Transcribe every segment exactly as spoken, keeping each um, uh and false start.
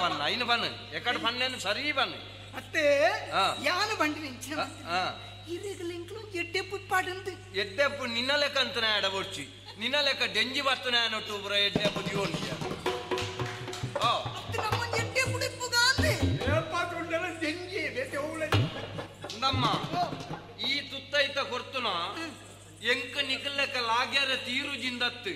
ಬನ್ನ ಐನು ಬನ್ನ ಎಕಡೆ ಪನ್ನೇನು ಸರಿ ಬನ್ನ ಅತ್ತೆ ಯಾನು ಬಂಡಿ ಇಂಚಿನ ಇರೆಗಲಿಂಕ್ಲು ಎಡ್ಡೆಪ್ಪು ಪಾಡಂದು ಎಡ್ಡೆಪ್ಪು ನಿನ್ನ ಲೆಕ್ಕ ಅಂತನ ಎಡಬೊಡ್ಚಿ ನಿನ್ನ ಲೆಕ್ಕ ಡೆಂಜಿ ಬರ್ತನ ಅನ್ನೊಟ್ಟು ಪುರ ಎಡ್ಡೆಪ್ಪು ದಿವೊಂಡಿಯ ಓ ಅತ್ತೆ ನಮ್ಮ ಎಡ್ಡೆಪ್ಪು ಡಿಪ್ಪುಗಾಂದೆ ಏಪಾತುಂಡಲ ಡೆಂಜಿ ಬೇತೆ ಓಳೆ ನಮ್ಮ ಈ ತುತ್ತೈತ ಕೊರ್ತುನ ಎಂಕ ನಿಕಲ್ಲೆಕ್ಕ ಲಾಗ್ಯಾರ ತೀರು ಜಿಂದತ್ತು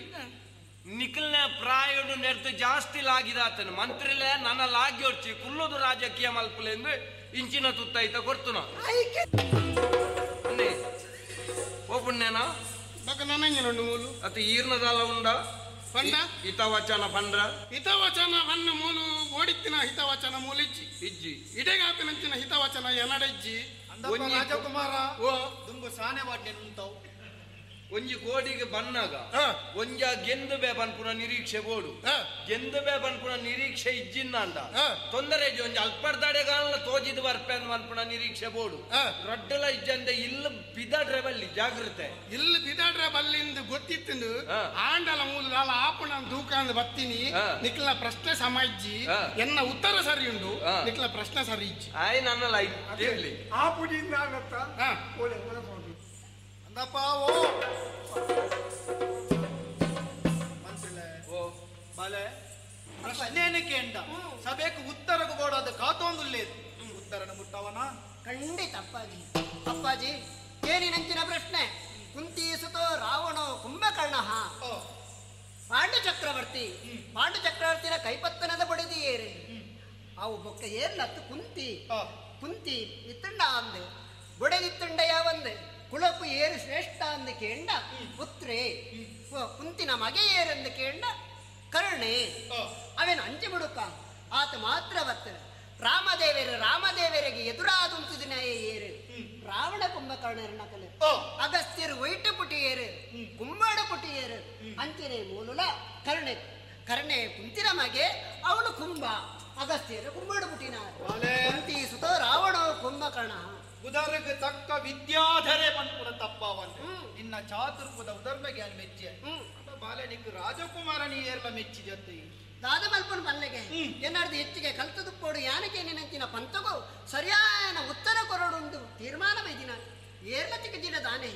ನಿಕಲ್ನ ಪ್ರಾಯೋಡು ನೆಡ್ದು ಜಾಸ್ತಿ ಲಾಗಿದಾತನು ಮಂತ್ರಿಲೆ ನನ್ನ ಲಾಗ್ಯೋಡ್ಚಿ ಕುಲ್ಲುದು ರಾಜಕೀಯ ಮಲ್ಪುಲೆಂದು ಇಂಚಿನ ತುತ್ತೈತ ಕೊರ್ತುನ ಓ ಪುಣ್ಯನಾ ಮೂಲು ಅತಿ ಈರ್ನದಾಲ ಉಂಡ ಪಂಡ ಹಿತವಚನ ಪಂಡ್ರ ಹಿತವಚನ ಬನ್ನ ಮೂಲು ಓಡಿತ್ತಿನ ಹಿತವಚನ ಮೂಲಿಜ್ಜಿ ಇಜ್ಜಿ ಇಡೆಗಾಪಿನಂಚಿನ ಹಿತವಚನ ಎನಡೆಜ್ಜಿ ರಾಜಕುಮಾರ ಓ ದುಂಬು ಸಾನೆ ವಾಡ್ನೆ ಉಂತಾವು ಒಂಜಿ ಕೋಡಿಗೆ ಬನ್ನಾಗ ಒಂಜ ಗೆಂದು ಬೇ ಪನ್ಪುನ ನಿರೀಕ್ಷೆ ಬೋಡು ಗೆಂದು ಬೇ ಪನ್ಪುನ ನಿರೀಕ್ಷೆ ಇಜ್ಜಿಂದ ತೊಂದರೆ ಇಜ್ಜಿ ಒಂಜಿ ಅಲ್ಪರ್ದಾಡೆಗಾಲ ತೋಜಿದ್ ಬರ್ಪೆ ಪನ್ಪುನ ನಿರೀಕ್ಷೆ ಬೋಡು ರಡ್ಡಲ ಇಜ್ಜಂದೆ ಇಲ್ಲ ಬಿದಾಡ್ರೆ ಬಲ್ಲಿ ಜಾಗೃತೆ ಇಲ್ಲ ಬಿದಾಡ್ರೆ ಬಲ್ಲಿಂದು ಗೊತ್ತಿತ್ತು ಆಂಡಲ ಮೂಲ ಆಪುಣ ದೂಕಾಂದ್ ಬತ್ತೀನಿ ನಿಕ್ಲ ಪ್ರಶ್ನೆ ಸಮ ಇಜ್ಜಿ ಎನ್ನ ಉತ್ತರ ಸರಿ ಉಂಡು ನಿಕ್ಲ ಪ್ರಶ್ನೆ ಸರಿ ಇಜ್ಜಿ ಆಯ್ ನನ್ನ ಲೈಫ್ ಆಪುಡಿಂದ ಆಗತ್ತ ಓಲೆ ಓಲೆ ಅಂದಪ್ಪ ಓ ಮಂತ್ರಿಲೆ ಓ ಬಾಲೆ ಪ್ರಶ್ನೆಯನ್ನು ಕೇಂಡ ಸಭೆಗೆ ಉತ್ತರకు ಬೋಡಾದ ಕಾತೊಂದುಲ್ಲೇದು ಉತ್ತರನ ಮುಟ್ಟವನ ಖಂಡಿತ ಅಪ್ಪಾಜಿ ಅಪ್ಪಾಜಿ ಏನಿನಂಚಿನ ಪ್ರಶ್ನೆ ಕುಂತೀಸುತೋ ರಾವಣೋ ಕುಂಭಕರ್ಣ ಪಾಂಡು ಚಕ್ರವರ್ತಿ ಪಾಂಡು ಚಕ್ರವರ್ತಿನ ಕೈಪತ್ತನದ ಬಡಿದಿಯೇರಿ ಅವು ಬೊಕ್ಕ ಏರ್ಲತ್ತು ಕುಂತಿ ಕುಂತಿ ಇತ್ತಂಡ ಅಂದೆ ಬೊಡೆದಿತ್ತಂಡ ಯಾವಂದೆ ಕುಲಕು ಏರು ಶ್ರೇಷ್ಠ ಅಂದ ಕೇಂಡ ಪುತ್ರೇ ಕುಂತಿನ ಮಗೆ ಏರೆಂದು ಕೇಂಡ ಕರುಣೆ ಅವೇನು ಅಂಚೆ ಬಿಡುಕ ಆತ ಮಾತ್ರ ಬರ್ತದೆ ರಾಮದೇವರು ರಾಮದೇವರಿಗೆ ಎದುರಾದುಂತುದಿನ ಏರು ರಾವಣ ಕುಂಭಕರ್ಣರನ್ನ ಕಲೆ ಅಗಸ್ತ್ಯರು ವೈಟ ಪುಟಿಯೇರು ಕುಂಬಾಡ ಪುಟಿಯೇರು ಅಂಚನೆ ಮೂಲುಲ ಕರುಣೆ ಕರ್ಣೆ ಕುಂತಿನ ಮಗೆ ಅವನು ಕುಂಭ ಅಗಸ್ತ್ಯರು ಕುಂಬಾಡ ಪುಟಿನ ಕುಂತಿ ಸುತ ರಾವಣ ಕುಂಭಕರ್ಣ ಉದರಗೆ ತಕ್ಕ ವಿದ್ಯಾಧರೆ ಪನ್ಪುನ ತಪ್ಪವಂತೆ ನಿನ್ನ ಚಾತುರ್ಪುದ ಉದರ್ಮೆಗೆ ಅನ್ ಮೆಚ್ಚೆ ಬಾಲೆ ನಿಕ್ ರಾಜಕುಮಾರ ನೀ ಏರ್ಲ ಮೆಚ್ಚಿದತ್ತೆ ದಾದ ಮಲ್ಪನ ಪಲ್ಲೆಗೆ ಏನಾರ್ದು ಹೆಚ್ಚಿಗೆ ಕಲ್ತದು ಪೋಡು ಯಾನಕ್ಕೆ ನೆನಂತಿನ ಪಂತಗೋ ಸರಿಯಾದ ಉತ್ತರ ಕೊರಡುಂದು ತೀರ್ಮಾನ ಬೈದಿನ ಏರ್ಲ ತಿಕ್ಕಜಿನ ದಾನೆ.